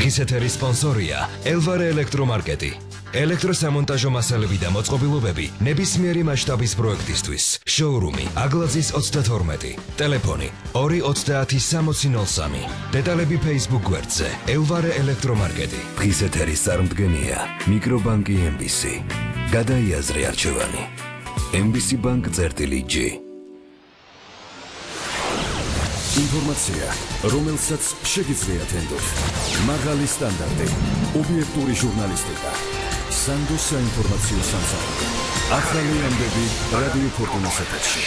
დღის ეთერის სპონსორია ელვარე ელექტრომარკეტი. ელექტროსამონტაჟო მასალები და მოწყობილობები ნებისმიერი მასშტაბის პროექტისთვის. შოურუმი აგლაძის 32. ტელეფონი 230-6003. დეტალები Facebook გვერდზე ელვარე ელექტრომარკეტი. დღის ეთერის წარმდგენია მიკრობანკი MBC. გადაიაზრე არჩევანი. MBC Bank წერტილი-G. ინფორმაცია, რომელსაც შეგიძლიათ ენდოთ. მაღალი სტანდარტი, ობიექტური ჟურნალისტიკა. სანდო საინფორმაციო სამსახური. ახალი ამბები რადიო ფორტუნას ეთერში.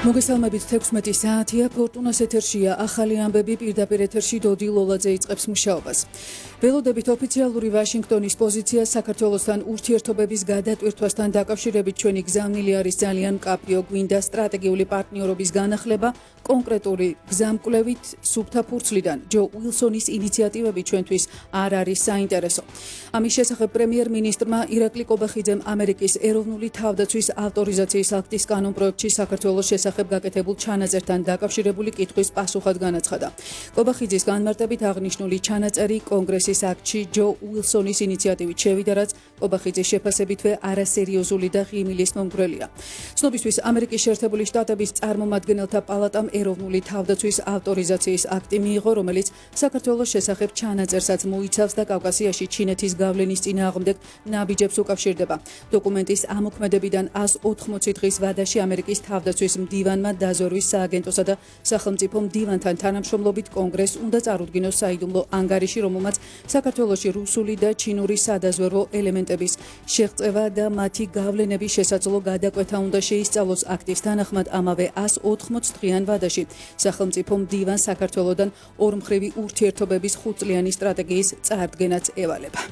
მოგესალმებით 16 საათია ფორტუნას ეთერშია ახალი ამბები პირდაპირ ეთერში დოდი ლოლაძე იწყებს მუშაობას. ველოდებით ოფიციალური ვაშინგტონის პოზიცია საქართველოსთან ურთიერთობების გადატვირთვასთან დაკავშირებით ჩვენი გზავნილი არის ძალიან მკაფიო, გვინდა სტრატეგიული პარტნიორობის განახლება კონკრეტული გზამკვლევით სუფთა ფურცლიდან. ჯო უილსონის ინიციატივები ჩვენთვის არ არის საინტერესო. ამის შესახებ პრემიერ-მინისტრმა ირაკლი კობახიძემ ამერიკის ეროვნული თავდაცვის ავტორიზაციის აქტის კანონპროექტში საქართველოს შესახებ გაკეთებულ ჩანაწერთან დაკავშირებული კითხვის პასუხად განაცხადა. კობახიძის განმარტებით აღნიშნული ჩანაწერი კონგრესის აქტში ჯო უილსონის ინიციატივით შევიდა, რაც კობახიძის შეფასებითვე არასერიოზული და ღიმილის მომგვრელია. ცნობისთვის ამერიკის შეერთებული შტატების წარმომადგენელთა პალატამ ეროვნული თავდაცვის ავტორიზაციის აქტი მიიღო, რომელიც საქართველოს შესახებ ჩანაწერსაც მოიცავს და კავკასიაში ჩინეთის გავლენის წინააღმდეგ ნაბიჯებს უკავშირდება. დოკუმენტის ამოქმედებიდან 180 დღის ვადაში ამერიკის თავდაცვის მდივანმა დაზვერვის სააგენტოსა და სახელმწიფო მდივანთან თანამშრომლობით კონგრესს უნდა წარუდგინოს საიდუმლო ანგარიში, რომელმაც საქართველოში რუსული და ჩინური სადაზვერვო ელემენტების შეღწევა და მათი გავლენების შესაძლო გადაკვეთა უნდა შეისწავლოს. აქტის თანახმად ამავე 180 დღიან ვადაში სახელმწიფო მდივანს საქართველოდან ორმხრივი ურთიერთობების 5 წლიანი სტრატეგიის წარდგენაც ევალება.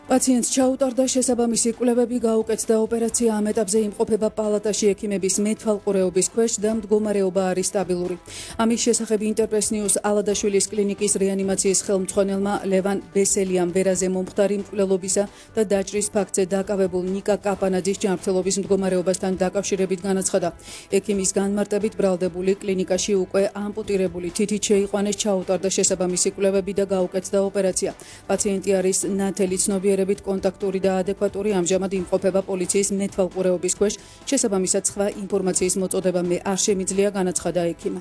პაციენტს ჩაუტარდა შესაბამისი კვლევები გაუკეთდა ოპერაცია ამ ეტაპზე იმყოფება პალატაში ექიმების მეთვალყურეობის ქვეშ და მდგომარეობა არის სტაბილური. ამის შესახებ ინტერპრეს ნიუს ალადაშვილის კლინიკის რეანიმაციის ხელმძღვანელმა ლევან ბესელიამ ვერაზე მომხდარი მკვლელობისა და დაჭრის ფაქტზე დაკავებულ ნიკა კაპანაძის ჯანმრთელობის მდგომარეობასთან დაკავშირებით განაცხადა. ექიმის განმარტებით ბრალდებული კლინიკაში უკვე ამპუტირებული თითით შეიყვანეს, ჩაუტარდა შესაბამისი კვლევები და გაუკეთდა ოპერაცია. პაციენტი არის ნათელი ცნობიერებით კონტაქტური და ადეკვატური, ამჟამად იმყოფება პოლიციის მეთვალყურეობის ქვეშ, შესაბამისად სხვა ინფორმაციის მოწოდება მე არ შემიძლია, განაცხადა ექიმა.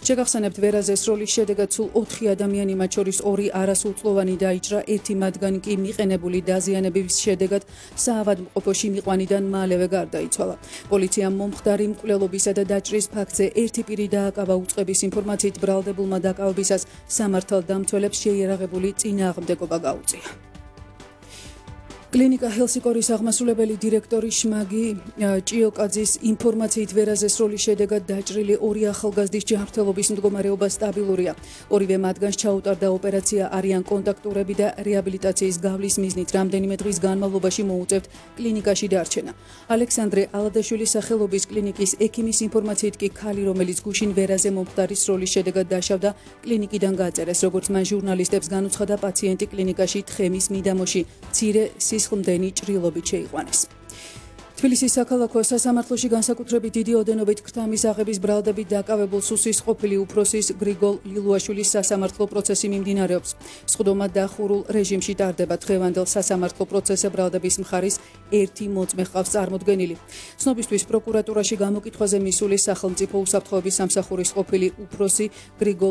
შეგახსენებთ, ვერაზეს როლის შედეგად სულ 4 ადამიანი, მათ შორის 2 არასრულწლოვანი დაიჭრა, ერთი მათგანი კი მიყენებული დაზიანების შედეგად საავადმყოფოში მიყვანიდან მალევე გარდაიცვალა. პოლიციამ მომხდარი მკვლელობისა და დაჭრის ფაქტზე ერთი პირი დააკავა. უწყების ინფორმაციით ბრალდებულმა დაკავებისას სამართალდამცველებს შეიარაღებული წინააღმდეგობა გაუწია. კლინიკა ჰელსიკორის აღმასრულებელი დირექტორი შმაგი ჭიოკაძის ინფორმაციით ვერაზეს როლის შედეგად დაჭრილი 2 ახალგაზრდის ჯანმრთელობის მდგომარეობა სტაბილურია. ორივე მათგანს ჩაუტარდა ოპერაცია, არიან კონტაქტურები და რეაბილიტაციის გავლის მიზნით რამდენიმე დღის განმავლობაში მოუწევთ კლინიკაში დარჩენა. ალექსანდრე ალადაშვილის სახელობის კლინიკის ექიმის ინფორმაციით კი ქალი, რომელიც გუშინ ვერაზე მომხდარის როლის შედეგად დაშავდა, კლინიკიდან გაწერეს. როგორც მან ჟურნალისტებს განუცხადა, პაციენტი კლინიკაში თხემის მიდამოში მცირე სისხლდენი ჭრილობით შეიყვანეს. თბილისის საქალაქო სასამართლოში განსაკუთრებით დიდი ოდენობით ქრთამის აღების ბრალდებით დაკავებულ სუსის ყოფილი უფროსის გრიგოლ ლილუაშვილის სასამართლო პროცესი მიმდინარეობს. სხდომა დახურულ რეჟიმში ტარდება. დღევანდელ სასამართლო პროცესზე ბრალდების მხარის ერთი მოწმე ჰყავს წარმოდგენილი. ცნობისთვის პროკურატურაში გამოკითხვაზე მისული სახელმწიფო უსაფრთხოების სამსახურის ყოფილი უფროსი გრიგოლ